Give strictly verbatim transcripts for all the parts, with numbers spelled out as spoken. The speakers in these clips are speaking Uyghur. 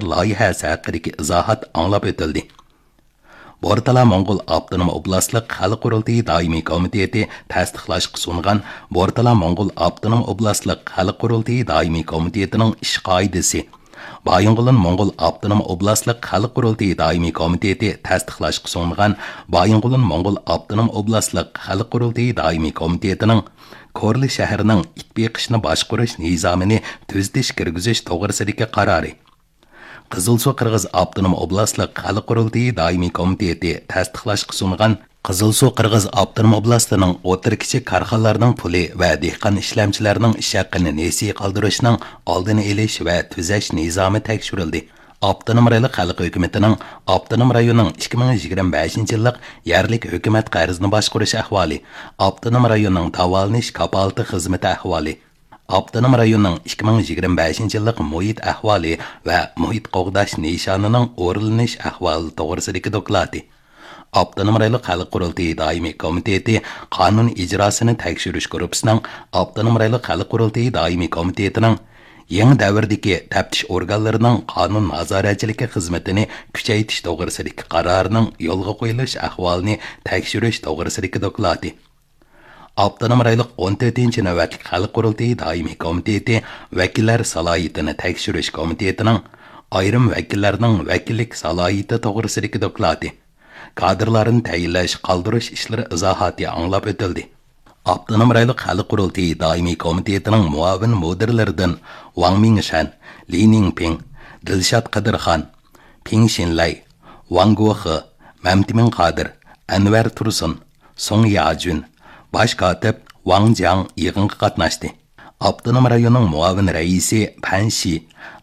لايىھەسى ھەققىدىكى ئىزاھات ئاڭلاپ ئۆتۈلدى. بورتالا موڭغۇل ئاپتونوم ئوبلاستلىق خەلق قۇرۇلتىيى دائىمىي كومىتېتى تەستىقلاشقا سۇنغان بورتالا موڭغۇل ئاپتونوم ئوبلاستلىق خەلق قۇرۇلتىيى دائىمىي كومىتېتىنىڭ ئىش قائىدىسى، بايىنغولىن موڭغۇل ئاپتونوم ئوبلاستلىق خەلق قۇرۇلتىيى دائىمىي كومىتېتى تەستىقلاشقا سۇنغان بايىنغولىن موڭغۇل ئاپتونوم ئوبلاستلىق خەلق قۇرۇلتىيى دائىمىي كومىتېتىنىڭ كورلا شەھىرىنىڭ ئىت بېقىشنى باشقۇرۇش نىزامىنى تۈزىتىش كىرگۈزۈش توغرىسىدىكى قارارى، قىزىلسۇ قىرغىز ئاپتونوم ئوبلاستلىق خەلق قۇرۇلتىيى دائىمىي كومىتېتى تەستىقلاشقا سۇنغان قىزىلسۇ قىرغىز ئاپتونوم ئوبلاستىنىڭ ئوتتۇرا كىچىك كارخانىلارنىڭ پۇلى ۋە دېھقان ئىشلەمچىلەرنىڭ ئىش ھەققىنى نېسى قالدۇرۇشنىڭ ئالدىنى ئېلىش ۋە تۈزەش نىزامى تەكشۈرۈلدى. ئاپتونوم رايونلۇق خەلق ھۆكۈمىتىنىڭ ئاپتونوم رايوننىڭ ئىككى مىڭ يىگىرمە بەشىنچى يىللىق يەرلىك ھۆكۈمەت قەرزىنى باشقۇرۇش ئەھۋالى، ئاپتونوم رايوننىڭ داۋالىنىش كاپالىتى خىزمىتى ئەھۋالى، ئاپتونوم رايوننىڭ ئىككى مىڭ يىگىرمە بەشىنچى يىللىق مۇھىت ئەھۋالى ۋە مۇھىت قوغداش نىشانىنىڭ ئورۇنلىنىش ئەھۋالى توغرىسىدىكى دوكلاتى، ئاپتونوم رايونلۇق خەلق قۇرۇلتىيى دائىمىي كومىتېتى قانۇن ئىجراسىنى تەكشۈرۈش گۇرۇپپىسىنىڭ ئاپتونوم رايونلۇق خەلق قۇرۇلتىيى دائىمىي كومىتېتىنىڭ يېڭى دەۋردىكى تەپتىش ئورگانلىرىنىڭ قانۇن نازارەتچىلىكى خىزمىتىنى كۈچەيتىش توغرىسىدىكى قارارىنىڭ يولغا قويۇلۇش ئەھۋالىنى تەكشۈرۈش توغرىسىدىكى دوكلاتى، ئاپتونوم رايونلۇق ئون تۆتىنچى نۆۋەتلىك خەلق قۇرۇلتىيى دائىمىي كومىتېتى ۋەكىللەر سالاھىيىتىنى تەكشۈرۈش كومىتېتىنىڭ ئايرىم ۋەكىللەرنىڭ ۋەكىللىك سالاھىيىتى توغرىسىدىكى دوكلاتى، كادىرلارنى تەيىنلەش، قالدۇرۇش ئىشلىرى ئىزاھاتى ئاڭلاپ ئۆتۈلدى. ئاپتونوم رايونلۇق خەلق قۇرۇلتىيى دائىمىي كومىتېتىنىڭ مۇئاۋىن مۇدىرلىرىدىن ۋاڭ مىڭشەن، لى نىڭپىڭ، دىلشات قادىرخان، پىڭ شىنلەي، ۋاڭ گوخې، مەمتىمىن قادىر، ئەنۋەر تۇرسۇن، سۇڭ ياجۈن، باش كاتىپ ۋاڭ جياڭ يىغىنغا قاتناشتى. ئاپتونوم رايوننىڭ مۇئاۋىن رەئىسى پەن شى،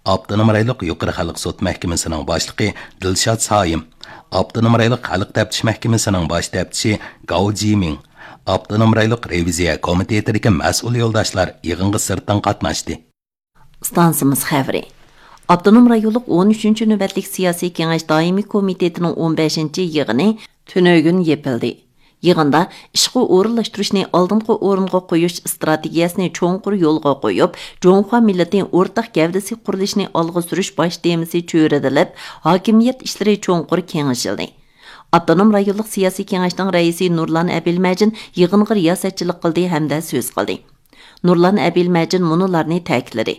ئاپتونوم رايونلۇق يۇقىرى خەلق سوت مەھكىمىسىنىڭ باشلىقى دىلشات سايىم، ئاپتونوم رايونلۇق خەلق تەپتىش مەھكىمىسىنىڭ باش تەپتىشى گاۋ جىمىڭ، ئاپتونوم رايونلۇق رېۋىزىيە كومىتېتىدىكى مەسئۇل يولداشلار يىغىنغا سىرتتىن قاتناشتى. ئىستانسىمىز خەۋىرى. ئاپتونوم رايونلۇق ئون ئۈچىنچى نۆۋەتلىك سىياسىي كېڭەش دائىمىي كومىتېتىنىڭ ئون بەشىنچى يىغىنى تۈنۈگۈن يېپىلدى. يىغىندا ئىشقا ئورۇنلاشتۇرۇشنى ئالدىنقى ئورۇنغا قويۇش ئىستراتېگىيەسىنى چوڭقۇر يولغا قويۇپ، جۇڭخۇا مىللىتى ئورتاق گەۋدىسى قۇرۇلۇشىنى ئالغا سۈرۈش باش تېمىسى چۆرىدىلىپ، ھاكىمىيەت ئىشلىرى چوڭقۇر كېڭىشىلدى. ئاپتونوم رايونلۇق سىياسىي كېڭەشنىڭ رەئىسى نۇرلان ئەبىلمەجىن يىغىنغا رىياسەتچىلىك قىلدى ھەمدە سۆز قىلدى. نۇرلان ئەبىلمەجىن مۇنۇلارنى تەكىتلىدى: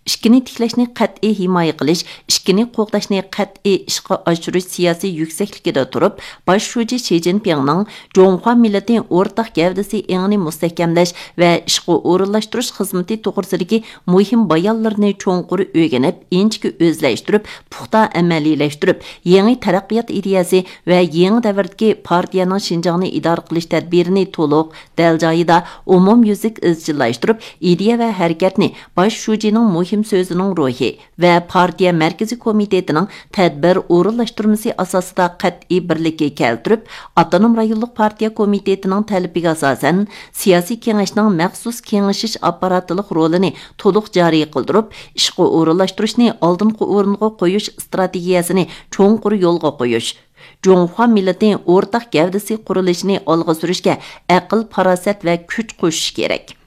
ئىككىنى تىكلەشنى قەتئىي ھىمايە قىلىش، ئىككىنى قوغداشنى قەتئىي ئىشقا ئاشۇرۇش سىياسىي يۈكسەكلىكىدە تۇرۇپ، باش شۇجى شى جىنپىڭنىڭ جۇڭخۇا مىللىتى ئورتاق گەۋدىسى ئېڭىنى مۇستەھكەملەش ۋە ئىشقا ئورۇنلاشتۇرۇش خىزمىتى توغرىسىدىكى مۇھىم بايانلىرىنى چوڭقۇر ئۆگىنىپ، ئىنچىكە ئۆزلەشتۈرۈپ، پۇختا ئەمەلىيلەشتۈرۈپ، يېڭى تەرەققىيات ئىدىيەسى ۋە يېڭى دەۋردىكى پارتىيەنىڭ شىنجاڭنى ئىدارە قىلىش تەدبىرىنى تولۇق، دەل جايىدا، ئومۇميۈزلۈك ئىزچىللاشتۇرۇپ، ئىدىيە ۋە ھەرىكەتنى باش شۇجىنىڭ مۇھىم سۆزىنىڭ روھى ۋە پارتىيە مەركىزىي كومىتېتىنىڭ تەدبىر ئورۇنلاشتۇرمىسى ئاساسىدا قەتئىي بىرلىككە كەلتۈرۈپ، ئاپتونوم رايونلۇق پارتىيە كومىتېتىنىڭ تەلىپىگە ئاساسەن، سىياسىي كېڭەشنىڭ مەخسۇس كېڭىشىش ئاپپاراتلىق رولىنى تولۇق جارى قىلدۇرۇپ، ئىشقا ئورۇنلاشتۇرۇشنى ئالدىنقى ئورۇنغا قويۇش ئىستراتېگىيەسىنى چوڭقۇر يولغا قويۇش، جۇڭخۇا مىللىتى ئورتاق گەۋدىسى قۇرۇلۇشىنى ئالغا سۈرۈشكە ئەقىل، پاراسەت ۋە كۈچ قوشۇش كېرەك.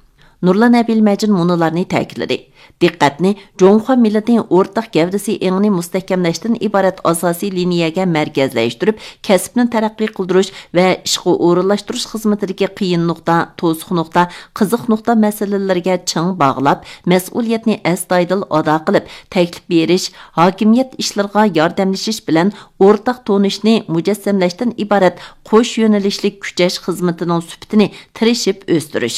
نۇرلان ئەبىلمەجىن مۇنۇلارنى تەكىتلىدى: دىققەتنى جۇڭخۇا مىللىتى ئورتاق گەۋدىسى ئېڭىنى مۇستەھكەملەشتىن ئىبارەت ئاساسىي لىنىيەگە مەركەزلەشتۈرۈپ، كەسىپنى تەرەققىي قىلدۇرۇش ۋە ئىشقا ئورۇنلاشتۇرۇش خىزمىتىدىكى قىيىن نۇقتا، توسۇق نۇقتا، قىزىق نۇقتا مەسىلىلىرىگە چىڭ باغلاپ، مەسئۇلىيەتنى ئەستايىدىل ئادا قىلىپ، تەكلىپ بېرىش، ھاكىمىيەت ئىشلىرىغا ياردەملىشىش بىلەن ئورتاق تونۇشنى مۇجەسسەملەشتىن ئىبارەت قوش يۆنىلىشلىك كۈچەش خىزمىتىنىڭ سۈپىتىنى تىرىشىپ ئۆستۈرۈش.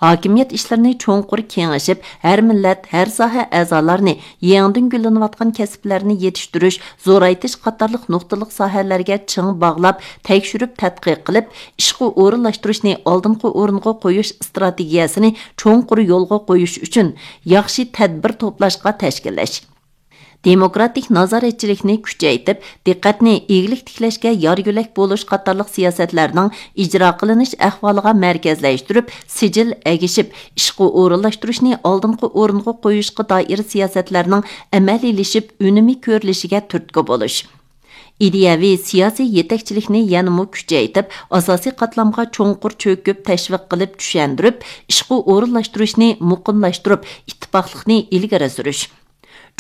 ھاكىمىيەت ئىشلىرىنى چوڭقۇر كېڭىشىپ، ھەر مىللەت، ھەر ساھە ئەزالارنى، يېڭىدىن گۈللىنىۋاتقان كەسىپلەرنى يېتىشتۈرۈش، زورايتىش قاتارلىق نۇقتىلىق ساھەلەرگە چىڭ باغلاپ، تەكشۈرۈپ تەتقىق قىلىپ، ئىشقا ئورۇنلاشتۇرۇشنى ئالدىنقى ئورۇنغا قويۇش ئىستراتېگىيەسىنى چوڭقۇر يولغا قويۇش ئۈچۈن ياخشى تەدبىر توپلاشقا تەشكىللەش. دېموكراتىك نازارەتچىلىكنى كۈچەيتىپ، دىققەتنى ئىگىلىك تىكلەشكە يار يۆلەك بولۇش قاتارلىق سىياسەتلەرنىڭ ئىجرا قىلىنىش ئەھۋالىغا مەركەزلەشتۈرۈپ، سىجىل ئەگىشىپ، ئىشقا ئورۇنلاشتۇرۇشنى ئالدىنقى ئورۇنغا قويۇشقا دائىر سىياسەتلەرنىڭ ئەمەلىيلىشىپ، ئۈنۈمى كۆرۈلۈشىگە تۈرتكە بولۇش. ئىدىيەۋى سىياسىي يېتەكچىلىكنى يەنىمۇ كۈچەيتىپ، ئاساسىي قاتلامغا چوڭقۇر چۆكۈپ، تەشۋىق قىلىپ، چۈشەندۈرۈپ، ئىشقا ئورۇنلاشتۇرۇشنى مۇقىملاشتۇرۇپ، ئىتتىپاقلىقنى ئىلگىرى سۈرۈش.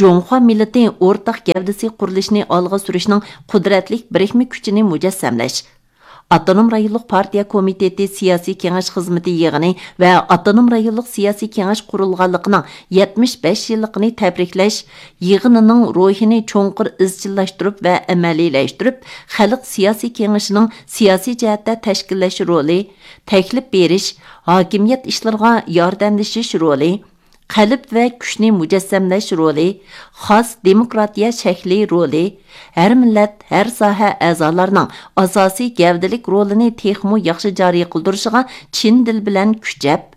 جۇڭخۇا مىللىتى ئورتاق گەۋدىسى قۇرۇلۇشىنى ئالغا سۈرۈشنىڭ قۇدرەتلىك بىرىكمە كۈچىنى مۇجەسسەملەش. ئاپتونوم رايونلۇق پارتىيە كومىتېتى سىياسىي كېڭەش خىزمىتى يىغىنى ۋە ئاپتونوم رايونلۇق سىياسىي كېڭەش قۇرۇلغانلىقىنىڭ يەتمىش بەش يىللىقىنى تەبرىكلەش يىغىنىنىڭ روھىنى چوڭقۇر ئىزچىللاشتۇرۇپ ۋە ئەمەلىيلەشتۈرۈپ، خەلق سىياسىي كېڭىشىنىڭ سىياسىي جەھەتتە تەشكىللەش رولى، تەكلىپ بېرىش، ھاكىمىيەت ئىشلىرىغا ياردەملىشىش رولى، قەلب ۋە كۈچنى مۇجەسسەملەش رولى، خاس دېموكراتىيە شەكلى رولى، ھەر مىللەت، ھەر ساھە ئەزالارنىڭ ئاساسىي گەۋدىلىك رولىنى تېخىمۇ ياخشى جارى قىلدۇرۇشىغا چىن دىل بىلەن كۈچەپ،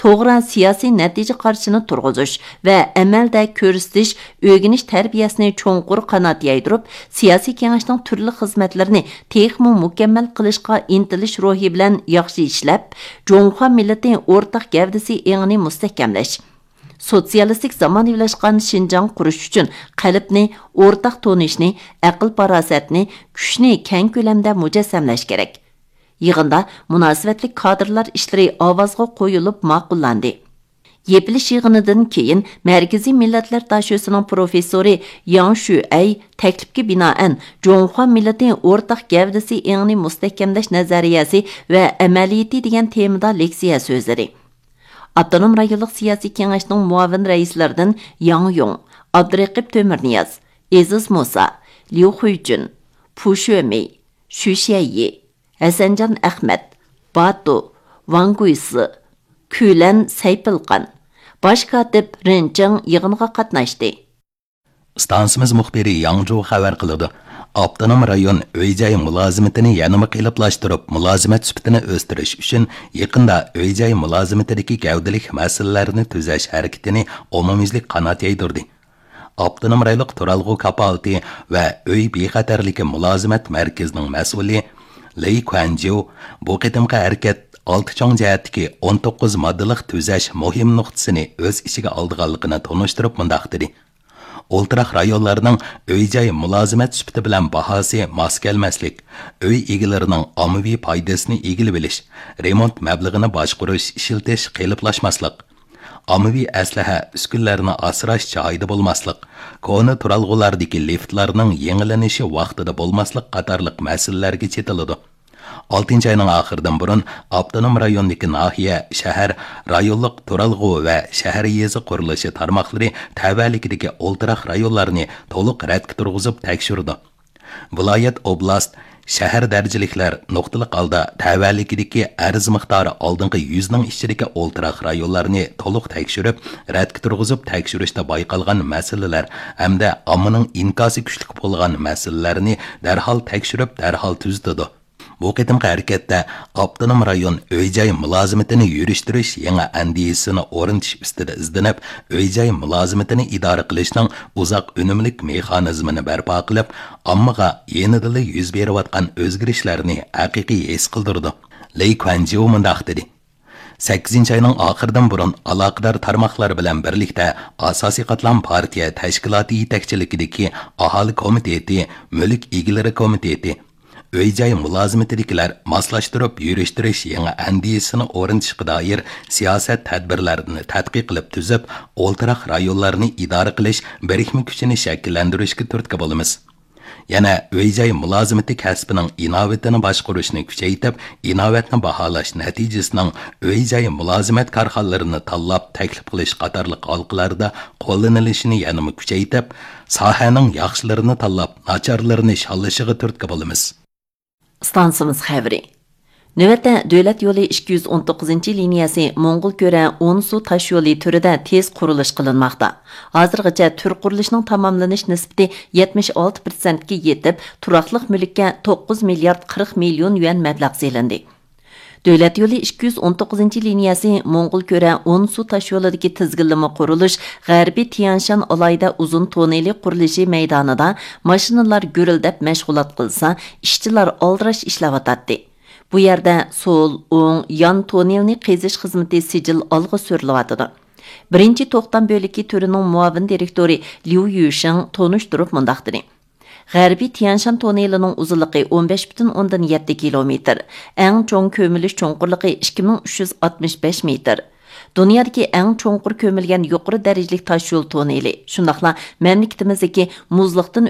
توغرا سىياسىي نەتىجە قارىشىنى تۇرغۇزۇش ۋە ئەمەلدە كۆرسىتىش، ئۆگىنىش تەربىيەسىنى چوڭقۇر قانات يايدۇرۇپ، سىياسىي كېڭەشنىڭ تۈرلۈك خىزمەتلىرىنى تېخىمۇ مۇكەممەل قىلىشقا ئىنتىلىش روھى بىلەن ياخشى ئىشلەپ، جۇڭخۇا مىللىتى ئورتاق گەۋدىسى ئېڭىنى مۇستەھكەملەش، سوتسىيالىستىك زامانىۋىلاشقان شىنجاڭ قۇرۇش ئۈچۈن قەلبنى، ئورتاق تونۇشنى، ئەقىل-پاراسەتنى، كۈچنى كەڭ كۆلەمدە مۇجەسسەملەش كېرەك. يىغىندا مۇناسىۋەتلىك كادىرلار ئىشلىرى ئاۋازغا قويۇلۇپ ماقۇللاندى. يېپىلىش يىغىنىدىن كېيىن، مەركىزىي مىللەتلەر داشۆسىنىڭ پروفېسسورى ياڭ شۈئەي تەكلىپكە بىنائەن، جۇڭخۇا مىللىتى ئورتاق گەۋدىسى ئېڭىنى مۇستەھكەملەش نەزەرىيەسى ۋە ئەمەلىيىتى دېگەن تېمىدا لېكسىيە سۆزلىدى. ئاپتونوم رايونلۇق سىياسىي كېڭەشنىڭ مۇئاۋىن رەئىسلىرىدىن ياڭ يۇڭ، ئابدۇرېقىپ تۆمۈرنىياز، ئېزىز مۇسا، ليۇ خۇيجۈن، پۇ شۆمېي، شۈ شيەيي، ھەسەنجان ئەخمەت، باتۇ، ۋاڭ گۇيسى، كۈلەن سەيپىلقان، باش كاتىپ رېن چېڭ يىغىنغا قاتناشتى. ئىستانسىمىز مۇخبىرى ياڭ جۇ خەۋەر قىلىدۇ. ئاپتونوم رايون ئۆي-جاي مۇلازىمىتىنى يەنىمۇ قېلىپلاشتۇرۇپ، مۇلازىمەت سۈپىتىنى ئۆستۈرۈش ئۈچۈن يېقىندا ئۆي-جاي مۇلازىمىتىدىكى گەۋدىلىك مەسىلىلەرنى تۈزەش ھەرىكىتىنى ئومۇميۈزلۈك قانات يايدۇردى. ئاپتونوم رايونلۇق تۇرالغۇ كاپالىتى ۋە ئۆي بىخەتەرلىكى مۇلازىمەت مەركىزىنىڭ مەسئۇلى لېي كۇەنجيۇ بۇ قېتىمقى ھەرىكەت ئالتە چوڭ جەھەتتىكى ئون توققۇز ماددىلىق تۈزەش مۇھىم نۇقتىسىنى ئۆز ئىچىگە ئالىدىغانلىقىنى تونۇشتۇرۇپ مۇنداق دېدى: ئولتۇراق رايونلارنىڭ ئۆي-جاي مۇلازىمەت سۈپىتى بىلەن باھاسى ماس كەلمەسلىك، ئۆي ئىگىلىرىنىڭ ئاممىۋى پايدىسىنى ئىگىلىۋېلىش، رېمونت مەبلىغىنى باشقۇرۇش، ئىشلىتىش قېلىپلاشماسلىق، ئاممىۋى ئەسلىھە، ئۈسكۈنىلەرنى ئاسراش جايىدا بولماسلىق، كونا تۇرالغۇلاردىكى لىفتلارنىڭ يېڭىلىنىشى ۋاقتىدا بولماسلىق قاتارلىق مەسىلىلەرگە چېتىلىدۇ. ئالتىنچى ئاينىڭ ئاخىرىدىن بۇرۇن ئاپتونوم رايوندىكى ناھىيە، شەھەر، رايونلۇق تۇرالغۇ ۋە شەھەر يېزا قۇرۇلۇشى تارماقلىرى تەۋەلىكىدىكى ئولتۇراق رايونلارنى تولۇق رەتكە تۇرغۇزۇپ تەكشۈرىدۇ. ۋىلايەت، ئوبلاست، شەھەر دەرىجىلىكلەر نۇقتىلىق ھالدا تەۋەلىكىدىكى ئەرز مىقدارى ئالدىنقى يۈزنىڭ ئىچىدىكى ئولتۇراق رايونلارنى تولۇق تەكشۈرۈپ، رەتكە تۇرغۇزۇپ تەكشۈرۈشتە بايقالغان مەسىلىلەر ھەمدە ئاممىنىڭ ئىنكاسى كۈچلۈك بولغان مەسىلىلەرنى دەرھال تەكشۈرۈپ، دەرھال تۈزىتىدۇ. بۇ قېتىمقى ھەرىكەتتە ئاپتونوم رايون ئۆي-جاي مۇلازىمىتىنى يۈرۈشتۈرۈش يېڭى ئەندىزىسىنى ئورنىتىش ئۈستىدە ئىزدىنىپ، ئۆي-جاي مۇلازىمىتىنى ئىدارە قىلىشنىڭ ئۇزاق ئۈنۈملۈك مېخانىزمىنى بەرپا قىلىپ، ئاممىغا يېنىدىلا يۈز بېرىۋاتقان ئۆزگىرىشلەرنى ھەقىقىي ھېس قىلدۇرىدۇ. لېي كۇەنجيۇ مۇنداق دېدى: سەككىزىنچى ئاينىڭ ئاخىرىدىن بۇرۇن ئالاقىدار تارماقلار بىلەن بىرلىكتە ئاساسىي قاتلام پارتىيە تەشكىلاتى يېتەكچىلىكىدىكى ئاھالە كومىتېتى، مۈلۈك ئىگىلىرى كومىتېتى، ئۆي-جاي مۇلازىمىتىدىكىلەر ماسلاشتۇرۇپ يۈرۈشتۈرۈش يېڭى ئەندىزىسىنى ئورنىتىشقا دائىر سىياسەت تەدبىرلەرنى تەتقىق قىلىپ تۈزۈپ، ئولتۇراق رايونلارنى ئىدارە قىلىش بىرىكمە كۈچىنى شەكىللەندۈرۈشكە تۈرتكە بولىمىز. يەنە ئۆي-جاي مۇلازىمىتى كەسپىنىڭ ئىناۋىتىنى باشقۇرۇشنى كۈچەيتىپ، ئىناۋەتنى باھالاش نەتىجىسىنىڭ ئۆي-جاي مۇلازىمەت كارخانىلىرىنى تاللاپ تەكلىپ قىلىش قاتارلىق ھالقىلاردا قوللىنىلىشىنى يەنىمۇ كۈچەيتىپ، ساھەنىڭ ياخشىلىرىنى تاللاپ، ناچارلىرىنى شاللىشىغا تۈرتكە بولىمىز. ئىستانسىمىز خەۋىرى. نۆۋەتتە دۆلەت يولى ئىككى يۈز ئون توققۇزىنچى لىنىيەسى موڭغۇلكۆرە ئونسۇ تاشيولى تۈرىدە تېز قۇرۇلۇش قىلىنماقتا. ھازىرغىچە تۈر قۇرۇلۇشىنىڭ تاماملىنىش نىسبىتى يەتمىش ئالتە پىرسەنتكە يېتىپ، تۇراقلىق مۈلۈككە توققۇز مىليارد قىرىق مىليون يۈەن مەبلەغ سېلىندى. دۆلەت يولى ئىككى يۈز ئون توققۇزىنچى لىنىيەسى موڭغۇلكۆرە ئونسۇ تاشيولىدىكى تىزگىنلىمە قۇرۇلۇش غەربىي تيەنشان ئالاھىدە ئۇزۇن توننېلى قۇرۇلۇشى مەيدانىدا ماشىنىلار گۈرۈلدەپ مەشغۇلات قىلسا، ئىشچىلار ئالدىراش ئىشلەۋاتاتتى. بۇ يەردە سول، ئوڭ، يان توننېلنى قېزىش خىزمىتى سىجىل ئالغا سۈرۈلۈۋاتىدۇ. بىرىنچى توختام بۆلىكى تۈرىنىڭ مۇئاۋىن دىرېكتورى ليۇ يۈشىڭ تونۇشتۇرۇپ مۇنداق دېدى: غەربىي تيەنشان توننېلىنىڭ ئۇزۇنلۇقى ئون بەش پۈتۈن ئوندىن يەتتە كىلومېتىر، ئەڭ چوڭ كۆمۈلۈش چوڭقۇرلۇقى ئىككى مىڭ ئۈچ يۈز ئاتمىش بەش مېتىر. دۇنيادىكى ئەڭ چوڭقۇر كۆمۈلگەن يۇقىرى دەرىجىلىك تاشيول توننېلى، شۇنداقلا مەملىكىتىمىزدىكى مۇزلۇقتىن